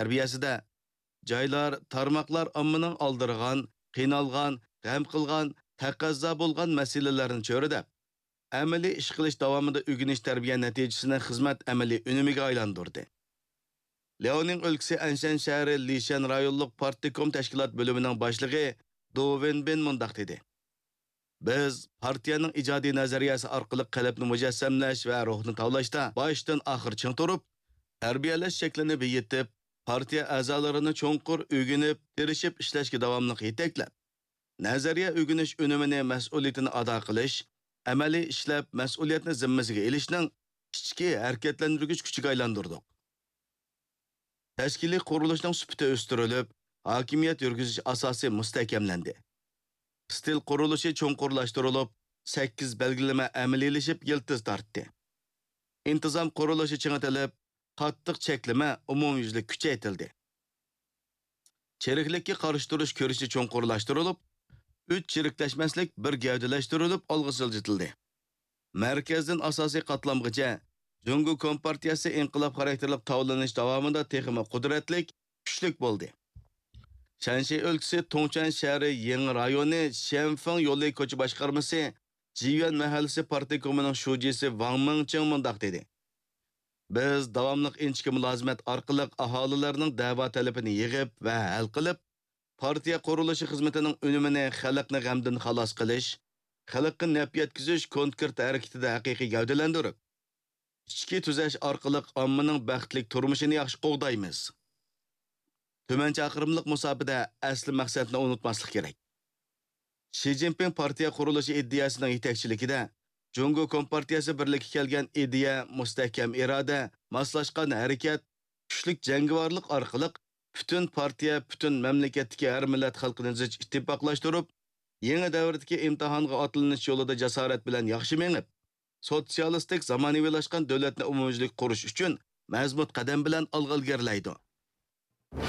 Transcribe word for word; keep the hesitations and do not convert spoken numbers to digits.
تەربىيەسىدە جايلار، تارماقلار ئاممىنىڭ ئالدىرىغان، قىينالغان، غەم قىلغان، تەقەززا بولغان مەسىلىلەرنى چۆرىدەپ، ئەمەلىي ئىش قىلىش داۋامىدا ئۆگىنىش تەربىيە نەتىجىسىنى خىزمەت ئەمەلىي ئۈنۈمىگە ئايلاندۇردى. لياۋنىڭ ئۆلكىسى ئەنشەن شەھىرى لىشەن رايونلۇق پارتكوم تەشكىلات بۆلۈمىنىڭ باشلىقى دو ۋېنبىن مۇنداق دېدى: بىز پارتىيەنىڭ ئىجادىي نەزەرىيەسى ئارقىلىق قەلبنى مۇجەسسەملەش ۋە روھنى تاۋلاشتا باشتىن ئاخىر چىڭ تۇرۇپ، تەربىيەلەش شەكلىنى بېيىتىپ، پارتىيە ئەزالىرىنى چوڭقۇر ئۆگىنىپ، تىرىشىپ ئىشلەشكە داۋاملىق يېتەكلەپ، نەزەرىيە ئۆگىنىش ئۈنۈمىنى مەسئۇلىيىتىنى ئادا قىلىش، ئەمەلىي ئىشلەپ مەسئۇلىيەتنى زىممىسىگە ئېلىشنىڭ ئىچكى ھەرىكەتلەندۈرگۈچ كۈچىگە ئايلاندۇردۇق. تەشكىلىي قۇرۇلۇشنىڭ سۈپىتى ئۆستۈرۈلۈپ، ھاكىمىيەت يۈرگۈزۈش ئاساسى مۇستەھكەملەندى. ئىستىل قۇرۇلۇشى چوڭقۇرلاشتۇرۇلۇپ، سەككىز بەلگىلىمە ئەمەلىيلىشىپ يىلتىز تارتتى. ئىنتىزام قۇرۇلۇشى چىڭىتىلىپ، قاتتىق چەكلىمە ئومۇميۈزلۈك كۈچەيتىلدى. چىرىكلىككە قارشى تۇرۇش كۈرىشى چوڭقۇرلاشتۇرۇلۇپ، ئۈچ چىرىكلەشمەسلىك بىر گەۋدىلەشتۈرۈلۈپ ئالغا سىلجىتىلدى. مەركەزدىن ئاساسىي قاتلامغىچە جۇڭگو كومپارتىيەسى ئىنقىلاب خاراكتېرلىك تاۋلىنىش داۋامىدا تېخىمۇ قۇدرەتلىك، كۈچلۈك بولدى. شەنشى ئۆلكىسى تۇڭچۈەن شەھىرى يېڭى رايونى شيەنفېڭ يولى كوچا باشقارمىسى جىيۈەن مەھەللىسى پارتكومىنىڭ شۇجىسى ۋاڭ مىڭچىڭ مۇنداق دېدى: بىز داۋاملىق ئىنچىكە مۇلازىمەت ئارقىلىق ئاھالىلەرنىڭ دەۋا تەلىپىنى يىغىپ ۋە ھەل قىلىپ، پارتىيە قۇرۇلۇشى خىزمىتىنىڭ ئۈنۈمىنى خەلقنى غەمدىن خالاس قىلىش، خەلققە نەپ يەتكۈزۈش كونكرېت ھەرىكىتىدە ھەقىقىي گەۋدىلەندۈرۈپ، ئىچكى تۈزەش ئارقىلىق ئاممىنىڭ بەختلىك تۇرمۇشىنى ياخشى قوغدايمىز. تۈمەن چاقىرىملىق مۇساپىدە ئەسلى مەقسەتنى ئۇنتۇماسلىق كېرەك. شى جىنپىڭ پارتىيە قۇرۇلۇشى ئىدىيەسىنىڭ يېتەكچىلىكىدە جۇڭگو كومپارتىيەسى بىرلىككە كەلگەن ئىدىيە، مۇستەھكەم ئىرادە، ماسلاشقان ھەرىكەت، كۈچلۈك جەڭگىۋارلىق ئارقىلىق پۈتۈن پارتىيە، پۈتۈن مەملىكەتتىكى ھەر مىللەت خەلقىنى زىچ ئىتتىپاقلاشتۇرۇپ، يېڭى دەۋردىكى ئىمتىھانغا ئاتلىنىش يولىدا جاسارەت بىلەن ياخشى مېڭىپ، سوتسىيالىستىك زامانىۋىلاشقان دۆلەتنى ئومۇميۈزلۈك قۇرۇش ئۈچۈن مەزمۇت قەدەم بىلەن ئالغا ئىلگىرىلەيدۇ.